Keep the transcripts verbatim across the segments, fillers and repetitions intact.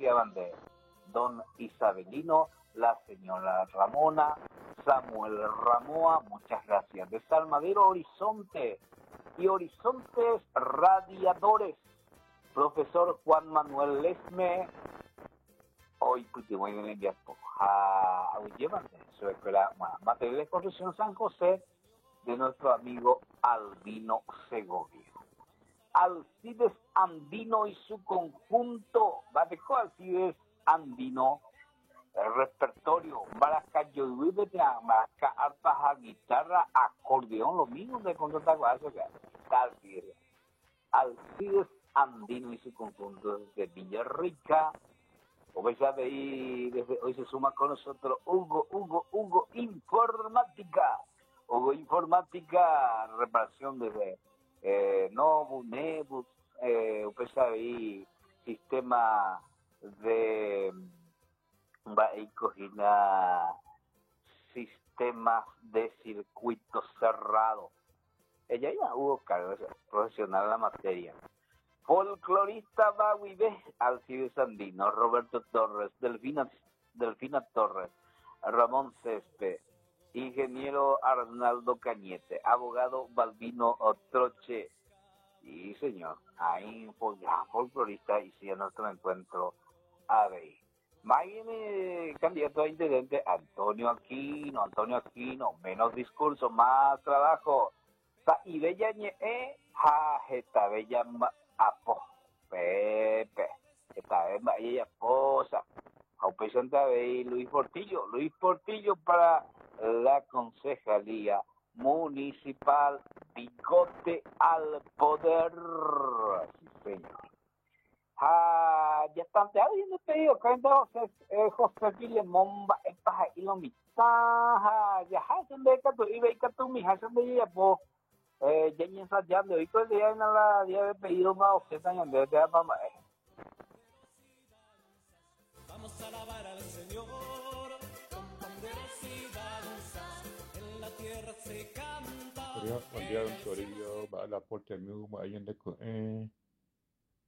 gracias, de don Isabelino, la señora Ramona, Samuel Ramoa, muchas gracias. De Salmadero Horizonte y Horizontes Radiadores, profesor Juan Manuel Lesme, hoy voy a a su escuela material de construcción San José, de nuestro amigo Albino Segovia. Alcides Andino y su conjunto, Batejo Alcides Andino, el repertorio, maraca, maraca, arpa, guitarra, acordeón, lo mismo de contratar Alcides. Alcides Andino y su conjunto desde Villarrica. Como sabe, desde hoy se suma con nosotros Hugo, Hugo, Hugo Informática. Hugo Informática, reparación desde eh, Nobu, Nebus, eh, usted sabe, sistema de sistemas de circuito cerrado. Ella iba Hugo Carlos, profesional en la materia. Folclorista Baguibé, Alcides Andino, Roberto Torres, Delfina, Delfina Torres, Ramón Césped, ingeniero Arnaldo Cañete, abogado Balbino Troche. Y señor, ahí gran folclorista y si a nuestro encuentro a ver. Viene candidato a intendente Antonio Aquino, Antonio Aquino, menos discurso, más trabajo. Sa y bella ñe ja jeta bella apo pepe esta vez ella esposa. Luis Portillo, Luis Portillo para la concejalía municipal, bigote al poder. Sí, señor. Ah, ya están te habiendo pedido José José Filemón va y lo mitad ya hacen de tu y ve tu mija son de ella po eh ya ensayando y todo el día en la día de pedido más ochenta años de mamá. Vamos a alabar al Señor con panderos y danzas, en la tierra se canta. Buen día, don Toribio, va la puerta de mi de eh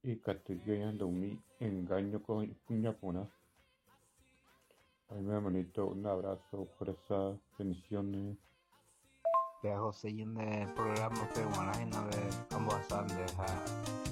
y castellano mi engaño con puñapona. Ay, mi hermanito, un abrazo, fuerza, bendiciones. De José y en el programa de Guanajina de ambos de